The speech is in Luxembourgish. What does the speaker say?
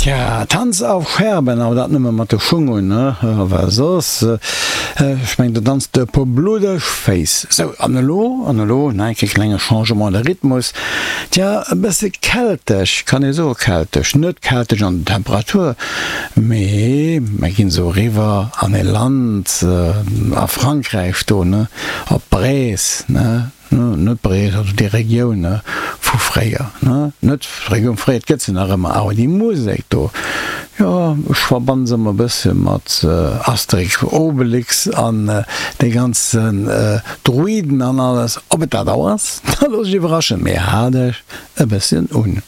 Tja, Tanz auf Scherben, awer dat nëmme mat de Schung un, ne? Well soss, ech mengen, do danzt de e puer bluddeg Féiss. Sou, an elo, an elo, nach eng Kéier klenge Changement de Rhythmus. Tja, e bësse keltesch, kann ee soe keltesch, net keltesch an der Temperatur, mee mer ginn esou eriwwer an e Land a Frankräich do, ne, op Brest, ne? Net Brees, also déi Regioun vu fréier, net d'Regioun fréier, et gëtt se nach ëmmer, awer déi Musek do, jo, ech verbannen se ëmmer e bësse mat Asterix, Obelix an de ganzen Druiden an alles. Ob et dat och ass, da looss ech iwwerraschen, mee haalt iech e bësschen un.